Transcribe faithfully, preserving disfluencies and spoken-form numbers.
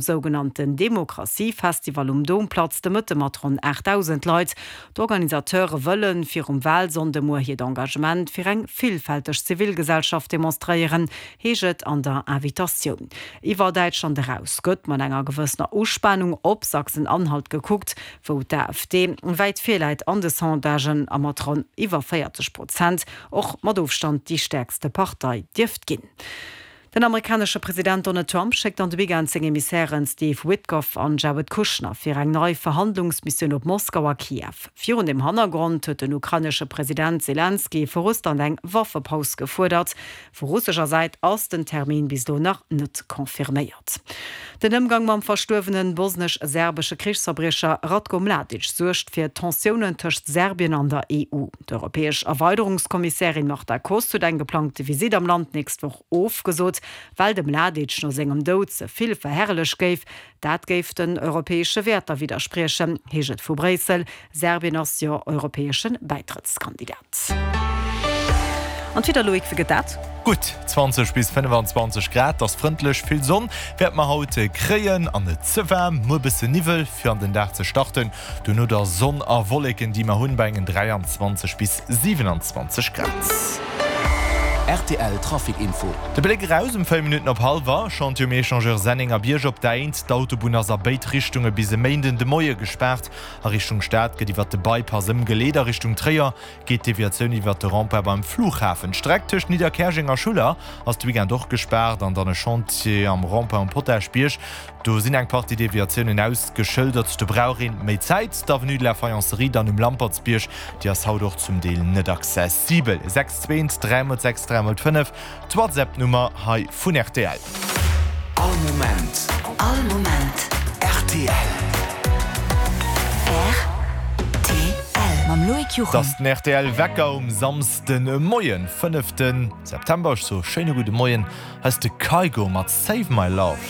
Sougenannten Demokratiefestival um Domplatz de Mëtte mat ronn aachtdausend Leit. D'Organisateure wëllen virum Walsonnde muer hiert Engagement fir eng villfälteg Zivilgesellschaft demonstréieren, heescht et an der Invitatioun. Iwwer Däitschland eraus gëtt mat enger gewëssener Uspanung op Sachsen-Anhalt gekuckt, wou d'AfD wäit vir läit an de Sondagen a mat ronn iwwer véierzeg Prozent och mat Ofstand déi stäerkste Partei dierft ginn. Den amerikanesche President Donald Trump schéckt an de Weekend seng Emissären Steve Witkoff an Jared Kushner fir eng nei Verhandlungsmissioun op Moskau a Kiew. Virun dem Hannergrond huet den ukrainesche President Selenskyj vu Russland eng Waffepaus gefuerdert. Vu russescher Säit ass den Termin bis elo nach net confirméiert. Den Ëmgang mam verstuerwene bosnesch-serbesche Krichsverbriecher Ratko Mladic suergt fir Tensiounen tëscht Serbien an der E U. D'europäesch Erweiderungskommissärin Marta Kos huet eng geplangte Visitt am Land d'nächst Woch ofgesot, well de Mladic no sengem Doud ze vill verherrlecht géif. Dat géif den europäesche Wäerter widderspriechen, heescht et vu Bréissel. Serbien ass jo europäesche Bäitrëttskandidat. An d'Wieder, Loïc, wéi gëtt dat? Gutt zwanzeg bis fënnefenzwanzeg Grad, ass frëndlech, vill Sonn wäerte mer haut kréien an net ze waarm. Muer bësse Niwwel fir an den Dag ze starten, duerno da Sonn a Wolleken déi mer hunn bei engen dräianzwanzeg bis siwenanzwanzeg Grad. R T L Trafic Info. De Bléck eraus um véier Minutten op hallwer, Chantier um Echangeur Sennengerbierg op der Eent. D'Autobunn ass a béid Richtunge bis e Méinden de Moie gespaart. A Richtung Stad gëtt iwwert de Bypass ëmgeleet, a Richtung Tréier geet d'Deviatioun iwwert de Rond-point beim Flughafen. D'Streck tëscht Nidderkäerjeng a Schuller ass de Weekend och gespaart an dann e Chantier am Rond-point um Potaschbierg. Do sinn eng Partie Deviatiounen ausgeschëldert, do brauch een méi Zäit. D'Avenue de la Faïencerie dann um Lampertsbierg, déi ass haut och zum Deel net accessibel. Sechs zwee eent dräi mol sechs dräi mol fënnef, d'WhatsApp-Nummer hei vun R T L. All Moment. All Moment. R T L. R T L. Mam Loïc Et Juchem. ass den R T L Wecker um Samsden Moien, fënneften September. Ech soe schéine gudde Moien. Hei ass de Kygo mat Save My Love.